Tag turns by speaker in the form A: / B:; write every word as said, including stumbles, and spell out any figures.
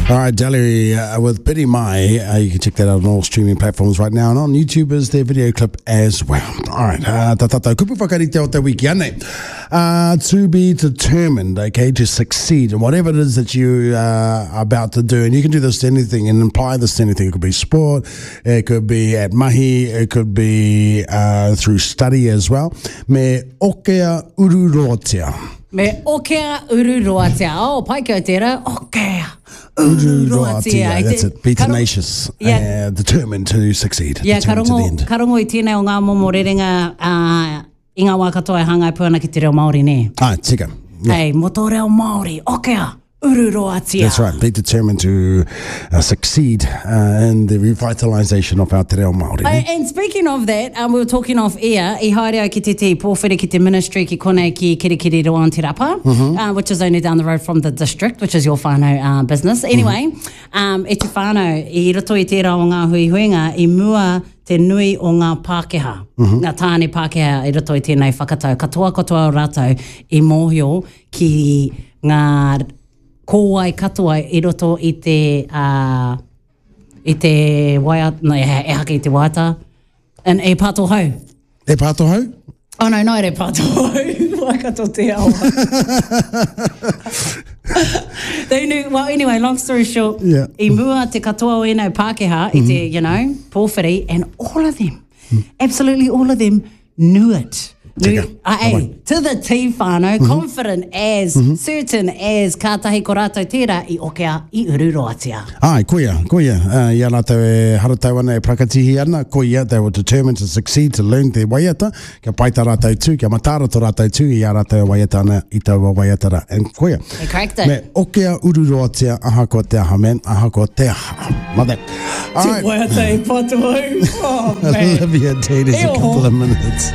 A: All right, Deli uh, with Biddy Mai. Uh, you can check that out on all streaming platforms right now. And on YouTube is their video clip as well. All right. Uh, ta tātou kupu whakarite o te wiki anei. Uh, to be determined, okay, to succeed in whatever it is that you uh, are about to do. And you can do this to anything and apply this to anything. It could be sport, it could be at mahi, it could be uh, through study as well. Me okea ururoatia.
B: Me okea ururoatia. Oh, pai kia tērā. Okea ururoatia.
A: That's it. Be tenacious.
B: Yeah.
A: Uh, determined to succeed.
B: Yeah, ka
A: determined to the
B: rongo,
A: end.
B: ka rongo i tēnei o ngā momo rerenga uh, i ngā wā katoa e hāngai pū ana ki te reo Māori, nē?
A: Ah, tika. Yeah.
B: Hey, mō tō reo Māori, okea ururoatia.
A: That's right. Be determined to uh, succeed uh, in the revitalisation of our te reo Māori.
B: Uh, and speaking of that, um, we were talking off air, i haere au ki te te pōwhiri ki te ministry ki konei ki Kirikiriroa on Te Rapa,
A: Mm-hmm.
B: uh, which is only down the road from the district, which is your whānau uh, business. Anyway,
A: Mm-hmm.
B: um, e te whānau, i roto i tērā o ngā huihuinga, i mua te nui o ngā Pākehā,
A: Mm-hmm.
B: ngā tāne Pākehā i roto i tēnei whakatau. Katoa katoa o rātou i mōhio ki ngā kōwai katoa i roto i te... Uh, i te waiata, no, e, e hake i te waiata, and e pāto hau.
A: E pāto hau?
B: Oh no, no, e pāto hau. Waikato te awa. They knew, well, anyway, long story short,
A: Yeah.
B: i mua te katoa o ēnei Pākehā, i te, you know, pōwhiri, and all of them, absolutely all of them knew it. Knew,
A: Tika.
B: uh, hey, to the T whānau, confident as, certain as, kātahi ko rātou tērā i okea i ururoatia.
A: Ai, koia, koia. Uh, i a rātou e haratau ana e prakatihi ana, koia, they were determined to succeed, to learn te waiata, kia pai tā rātou tū, kia mataara tō rātou tū i a rātou e waiata ana i taua waiata rā. And koia.
B: They cracked it.
A: Me okea ururoatia, ahakoa te aha, man, ahakoa te aha. Love that. All right.
B: Waiata e pāto hau. Oh, man.
A: Olivia Tate is a
B: E oho.
A: couple of minutes.